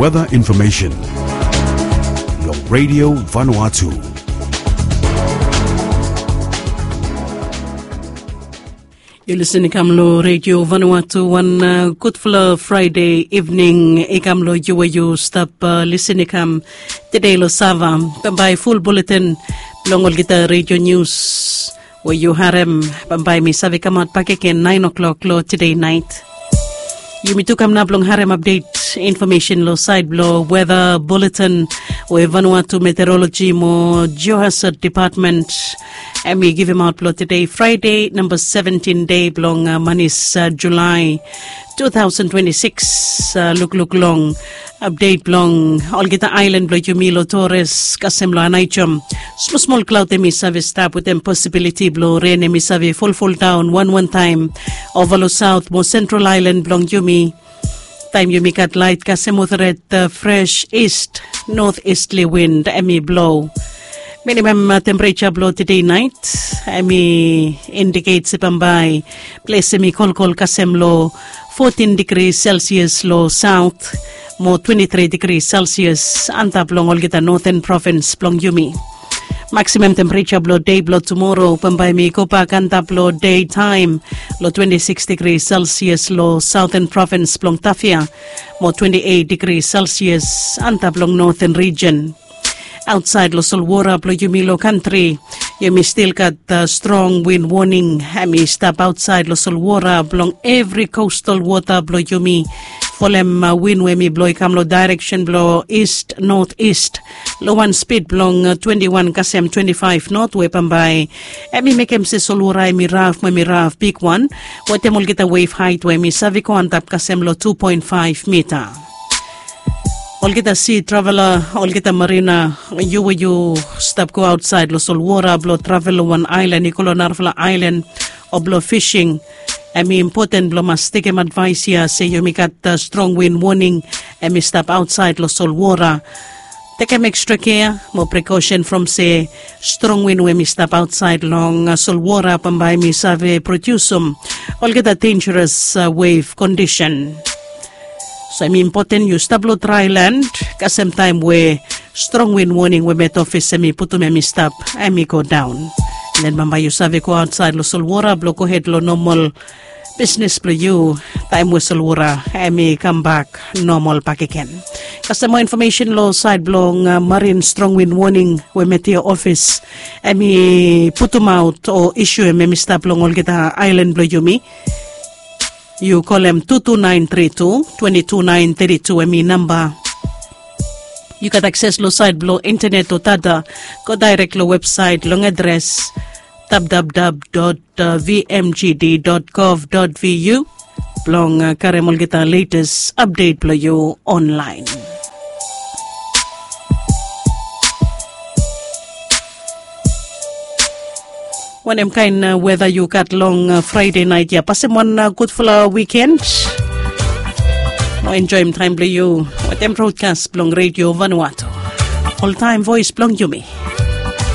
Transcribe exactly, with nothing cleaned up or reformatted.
Weather information long Radio Vanuatu. Yu lisin i kam long Radio Vanuatu, wan uh, gudfala Friday evening i kam long yu we yu stap uh, lisin i kam today long Sava. Bambae full bulletin bilong olgeta radio news we yu harem, bambae mi save kamap bakegen nine o'clock long today night. Yumi tu kam nap long harem update information long side bilong weather bulletin we Vanuatu Meteorology mo Geohazard Department em i givim out bilong today Friday number seventeen day bilong uh, manis uh, July two thousand twenty-six. Uh, lukluk long update bilong olgeta island bilong yumi long Torres kasem long Anaichom. Smosmol klaut em i save stap wetem posibiliti bilong ren em i save folfol daun wan wan taim ova long saut mo sentral ailan bilong yumi. Taim yumi gat lait kasem mothret uh, fresh east north eastli wind em i blo. Minimum uh, temperature bilong today night em i indicate se bambae ples em i kolkol kasem long fourteen degrees Celsius long south mo twenty-three degrees Celsius antap long olgeta northern province bilong yumi. Maximum temperature bilong day bilong tomorrow bambae mi go bak antap long day time long twenty-six degrees Celsius long southern province bilong Tafia mo twenty-eight degrees Celsius antap long northern region. Ausait long solwara bilong yumi long kantri yumi stil gat uh, strong win warning em i stap ausait long solwara bilong evri coastal wota bilong yumi. Folem uh, win we mi blo i kam long direction bilong east north east long wan spid bilong uh, twenty-one kasem twenty-five north we bambae em i mekem se solwara em i raf mo em i raf bigwan wetem olgeta wave height we mi save go antap kasem long two point five mita. Olgeta si travela, olgeta marina, yu we yu stap go ausait long solwara bilong travel long wan ailan i go long narafala ailan o bilong fishing. Em i impoten bilong mas tekem advais ya se yumi gat uh, strong win warning em i stap ausait long solwara. Tekem ekstra kea mo prekausen from se strong win we mi stap ausait long uh, solwara bambae mi save produsum olgeta dangerous uh, wave condition. So em i impoten yu stap long dry land kasem taim we strong win warning we met ofis em i putum em i stap em i go daun. Nen bambae yu save go ausait long solwara bilong go hed long normal bisnis bilong yu taim we solwara em i kam bak normal bakegen. Kasem moa information long sait bilong uh, marin strong win warning we met ya ofis em i putumaut o isu em em i stap long olgeta ailan bilong yumi. Yu kolem two two nine three two twenty two nine thirty two em i namba. Yu gat akses long sait bilong internet o data. Go dairek long websait long adres www vmgd gov vu bilong uh, karem olgeta latest update bilong yu online. Wanem kain uh, weda yu gat long uh, Friday night ya? Pasem wan uh, gudfala weekend. Mo enjoyim taim bilong yu wetem broadcast bilong Radio Vanuatu. Oltaim voice bilong yumi.